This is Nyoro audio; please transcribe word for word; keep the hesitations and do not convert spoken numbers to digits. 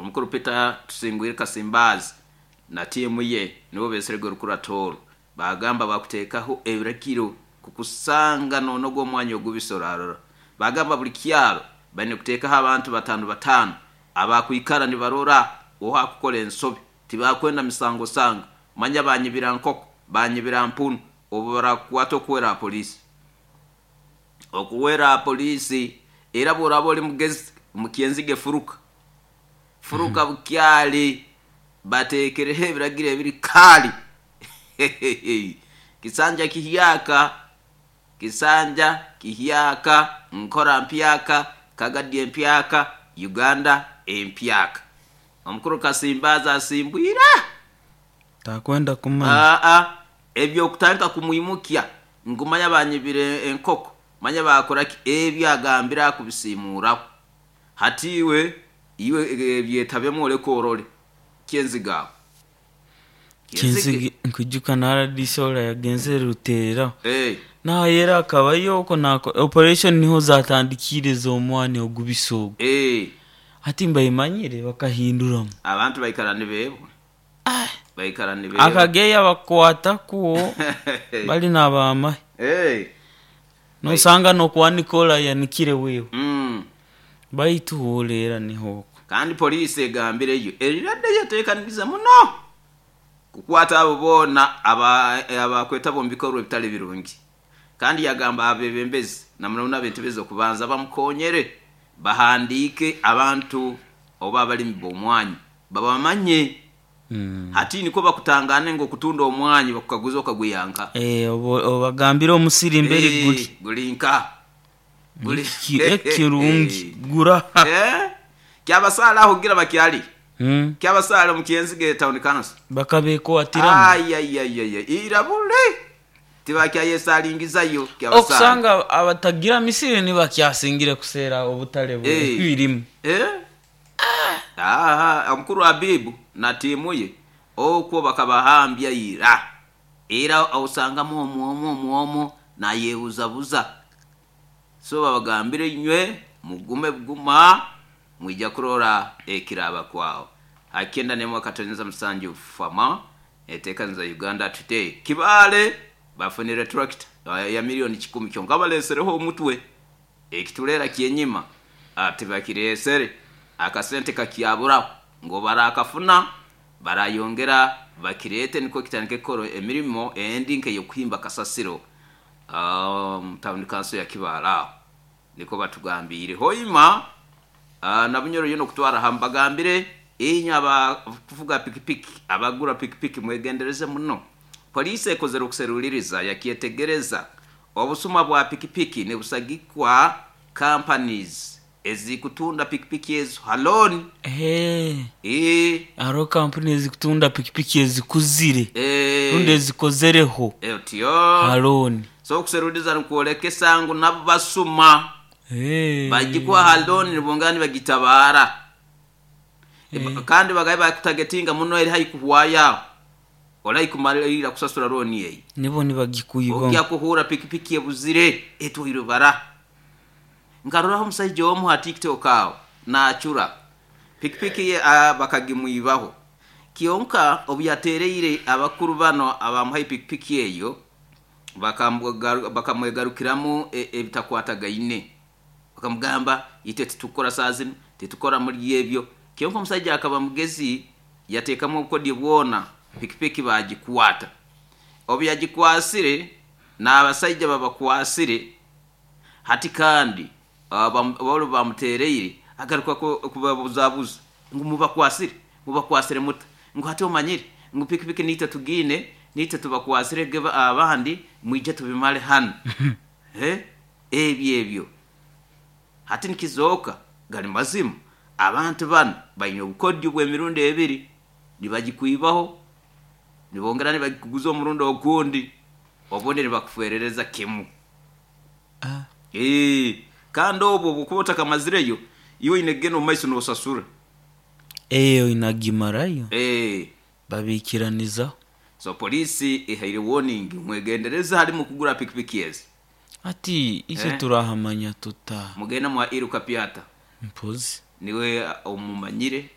Omukuru Peter Tusingwire Kasimbazi na tiimu ye nibo beserege orukurato. Bagamba bakuteekaho ebiragiro kukusanga nonoga omwanya ogubisorarora. Bagamba buli kyaro baine kuteekaho abantu batano batano abakwikara nibarora ohakukora ensobi. Tibakwenda misango sanga manya banyibira nkoko, banyibira mpunu, obu barakukwata okuwera polisi, okuwera polisi. Era bworaba oli mugezi mukyenzige, furuka, furuka bukyali. Bateekereho ebiragiro ebiri kaali. Kisanja kihyaka, kisanja kihyaka, nkora mpyaka, kagadi empyaka, Uganda empyaka. Omukuru Kasimbazi asimbwira. Takwenda kumanya. Aa, ebyokutandika kumwimukya ngumanya banyibire enkoko, manya bakoraki, ebyo agambire akubisimuraho. Hati iwe iwe ebyetabemu oleke orole kyenzigaho. Kyenzige nkwijuka na R D C ora yagenzere Rutereraho. Hey. Nayera akabayo oko nako operation niho zatandikire z'omwani ogubisa ogu. Hey. Hati mbayimanyire bakahinduramu. Abantu baikara nibebwa, baikara nibebwa. Akageya bakwata kuwo bali n'abamahe. Hey. Nosanga n'okwanika orayanikire wewe. mm. Baitu woleera niho oko. Kandi poliisi egambireyo eriradde yeteekanirize muno kukwata abo boona abakwetaba omu bikorwa ebitali birungi. Kandi yagamba abebembezi namuno ab'entebe z'okubanza bamukonyere bahandiike abantu oba abalimi b'omwanya babamanye. Mm. Hati niko bakutangane ngu okutunda omwanya bakukaguza okagwiyanka. Eh, obagambire omusiri mberi guli. Guli nka guli. Ekirungi gura. Eh? Kyabasaala aho gira bakyali. Mm. Kyabasaala mu Kyenzige Town Council. Bakabekwatiramu. Ayayayaya, irabule tibakyayesalingizayo kyabasaala. Okusanga abatagira misiri nibakyasingire kuseera obutale Eh. birimu. Eh? Aha, omukuru Abibu na tiimu ye okwo bakabahambya ira. Era osangamu omwomo omwomo nayebuzabuza. So babagambire, inywe mugume buguma, mwija kurora ekiraba kwawo. Hakenda nemwe akatonyeza musanju fama etekaniza Uganda Today. Kibale bafunire tractor ya miliyoni kikumi, kyonka balesereho omutwe ekitulera kyenyima ati bakiresere akasente kakyaburaho ngo barakafuna barayongera bakirete niko kitandike kukora emirimo endi nk'eyokuhimba kasasiro um, town council ya Kibale. Aho niko batugambire hoima. uh, nabunyoro yono kutwara hambagambire inywe abakuvuga pikipiki, abagura pikipiki, mwegendereze muno. Polisi ekozere okuseruliriza yakyetegereza obusuma bwa pikipiki nibusagikwa companies ezikutunda pikipiki ezo haloni. Eh, e, hariho kampuni ezikutunda pikipiki ezikuzire e, rundi ezikozereho otyo haloni. So okuseruliriza nikwolekesa ngu nabo basuma. Eh. Bagikuha haloni nibongera nibagitabara. Eh. Kandi bagaye bakutagetinga muno eri haikuhwayaho olaikumalira kusasura loan eyi. Nibo nibagikwibamu. Ojja kuhura pikipiki ebuzire etwairwe bara. Nkaroraho omusaija omu ha TikTok aho naacura pikipiki ye, ah, bakagimwibaho. Kyonka obu yatereire abakuru bano abamuhaye pikipiki eyo, bakamwegaru- bakamwegarukiramu e- ebitakwatagaine, bakamugamba itwe titukora saa zinu, titukora muri ebyo. Kyonka omusaija akaba mugezi, yateekamu obukodyo bwona, pikipiki bagikwata. Obu yagikwasire n'abasaija babakwasire hati kandi ah, bam- bolo bamutereire agaruka ku- kubabuzabuza ngu mubakwasire, mubakwasire muta? Ngu hati omanyire ngu pikipiki nitwe tugiine, nitwe tubakwasire geba abandi mwije tubimale hano. Eh, ebyo ebyo hati nikizooka gali mazima abantu bano baine obukodyo bw'emirundi ebiri: nibagikwibaho, nibongera nibagikuguza omurundi ogundi, obundi nibakufwerereza kimu. Ah. Eh, kandi obwo bwokuba otakamazireyo iwe oine kugenda omu maiso nosasura. Eyo inagimarayo. Eh, babikiranizaho. So polisi ehaire warning, mwegendereza hali mukugura pikipiki ezi. Ati ise Eh. turahamanya tuta? Mugenda mwa iruka pyata. Mpozi. Niwe omumanyire.